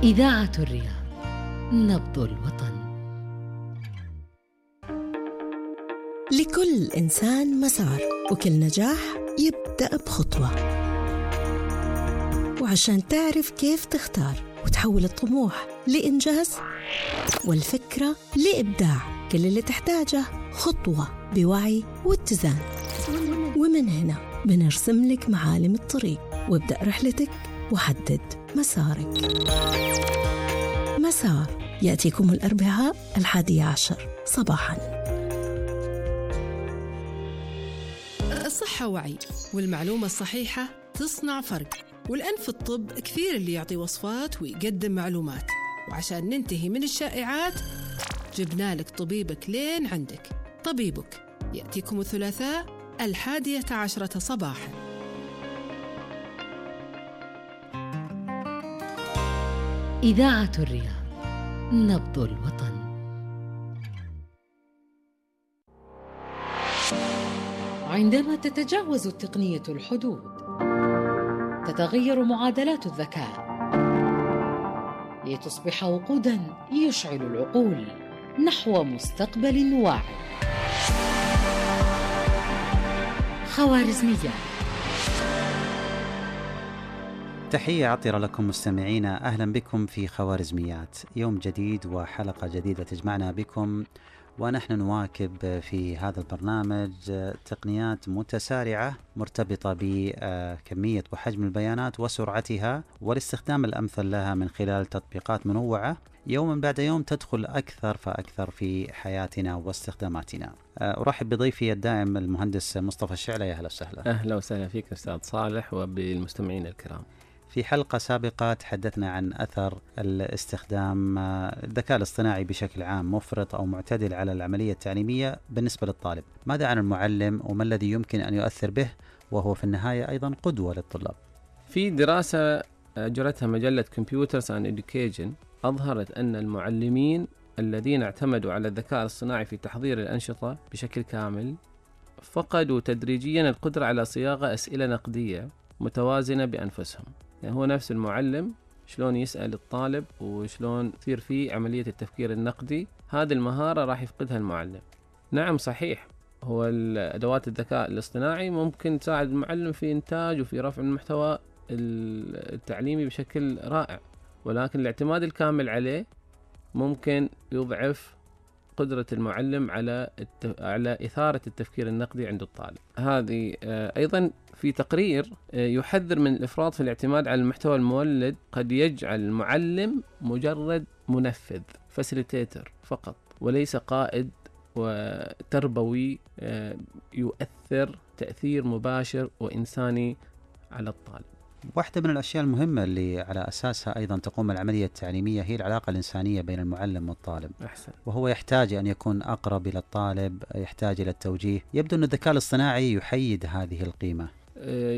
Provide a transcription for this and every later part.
إذاعة الرياض، نبض الوطن. لكل إنسان مسار، وكل نجاح يبدأ بخطوة. وعشان تعرف كيف تختار وتحول الطموح لإنجاز والفكرة لإبداع، كل اللي تحتاجه خطوة بوعي واتزان. ومن هنا بنرسم لك معالم الطريق، وابدأ رحلتك وحدد مسارك. مسار يأتيكم الأربعاء 11 صباحاً. الصحة وعي، والمعلومة الصحيحة تصنع فرق. والآن في الطب كثير اللي يعطي وصفات ويقدم معلومات، وعشان ننتهي من الشائعات جبنا لك طبيبك لين عندك. طبيبك يأتيكم الثلاثاء 11 صباحاً. إذاعة الرياض، نبض الوطن. عندما تتجاوز التقنية الحدود، تتغير معادلات الذكاء لتصبح وقوداً يشعل العقول نحو مستقبل واعي. خوارزميات. تحية عطرة لكم مستمعينا، أهلا بكم في خوارزميات، يوم جديد وحلقة جديدة تجمعنا بكم، ونحن نواكب في هذا البرنامج تقنيات متسارعة مرتبطة بكمية وحجم البيانات وسرعتها والاستخدام الأمثل لها من خلال تطبيقات منوعة يوما بعد يوم تدخل أكثر فأكثر في حياتنا واستخداماتنا. أرحب بضيفي الدائم المهندس مصطفى الشعلة. يا أهلا وسهلا. أهلا وسهلا فيك أستاذ صالح وبالمستمعين الكرام. في حلقة سابقة تحدثنا عن أثر الاستخدام الذكاء الاصطناعي بشكل عام مفرط أو معتدل على العملية التعليمية بالنسبة للطالب. ماذا عن المعلم وما الذي يمكن أن يؤثر به، وهو في النهاية أيضا قدوة للطلاب؟ في دراسة أجرتها مجلة Computers and Education أظهرت أن المعلمين الذين اعتمدوا على الذكاء الاصطناعي في تحضير الأنشطة بشكل كامل فقدوا تدريجيا القدرة على صياغة أسئلة نقدية متوازنة بأنفسهم. يعني هو نفس المعلم شلون يسأل الطالب وشلون تصير فيه عملية التفكير النقدي، هذه المهارة راح يفقدها المعلم. نعم صحيح، هو أدوات الذكاء الاصطناعي ممكن تساعد المعلم في إنتاج وفي رفع المحتوى التعليمي بشكل رائع، ولكن الاعتماد الكامل عليه ممكن يضعف قدرة المعلم على إثارة التفكير النقدي عند الطالب. هذه أيضا في تقرير يحذر من الإفراط في الاعتماد على المحتوى المولد، قد يجعل المعلم مجرد منفذ فاسيليتيتر فقط، وليس قائد وتربوي يؤثر تأثير مباشر وإنساني على الطالب. واحدة من الأشياء المهمة اللي على أساسها أيضا تقوم العملية التعليمية هي العلاقة الإنسانية بين المعلم والطالب. أحسن. وهو يحتاج أن يكون أقرب إلى الطالب، يحتاج إلى التوجيه. يبدو أن الذكاء الاصطناعي يحيد هذه القيمة،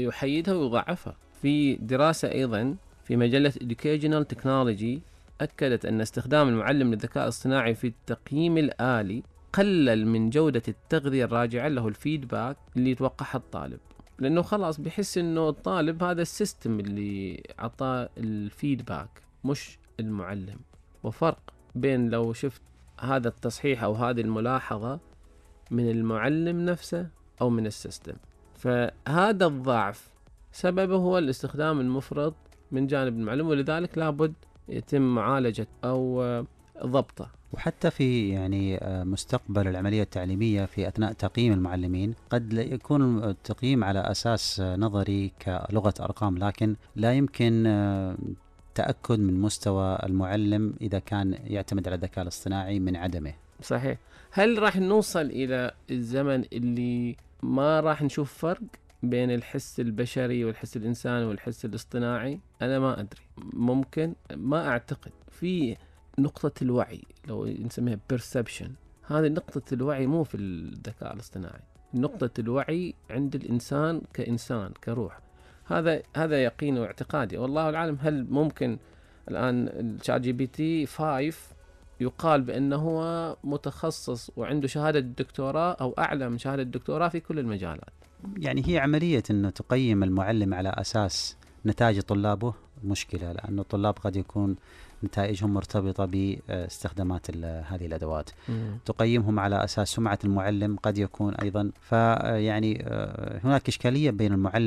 يحيدها ويضعفها. في دراسة أيضا في مجلة Educational Technology أكدت أن استخدام المعلم للذكاء الاصطناعي في التقييم الآلي قلل من جودة التغذية الراجعة له الفيدباك اللي يتوقعها الطالب، لأنه خلاص بيحس أنه الطالب هذا السيستم اللي عطاه الفيدباك مش المعلم. وفرق بين لو شفت هذا التصحيح أو هذه الملاحظة من المعلم نفسه أو من السيستم. فهذا الضعف سببه هو الاستخدام المفرط من جانب المعلم، ولذلك لابد يتم معالجة أو ضبطه. وحتى في مستقبل العملية التعليمية في أثناء تقييم المعلمين قد يكون التقييم على أساس نظري كلغة أرقام، لكن لا يمكن تأكد من مستوى المعلم إذا كان يعتمد على الذكاء الاصطناعي من عدمه. صحيح. هل راح نوصل إلى الزمن اللي ما راح نشوف فرق بين الحس البشري والحس الإنساني والحس الاصطناعي؟ أنا ما أدري، ممكن، ما أعتقد. في نقطة الوعي لو نسميها perception، هذه نقطة الوعي مو في الذكاء الاصطناعي، نقطة الوعي عند الإنسان كإنسان كروح. هذا يقين واعتقادي، والله العالم. هل ممكن الآن الشات جي بي تي 5 يقال بأنه هو متخصص وعنده شهادة دكتوراه أو أعلى من شهادة دكتوراه في كل المجالات؟ يعني هي عملية أنه تقيم المعلم على أساس نتائج طلابه مشكلة، لأنه الطلاب قد يكون نتائجهم مرتبطة باستخدامات هذه الأدوات. تقيمهم على أساس سمعة المعلم قد يكون أيضا، فيعني هناك إشكالية بين المعلم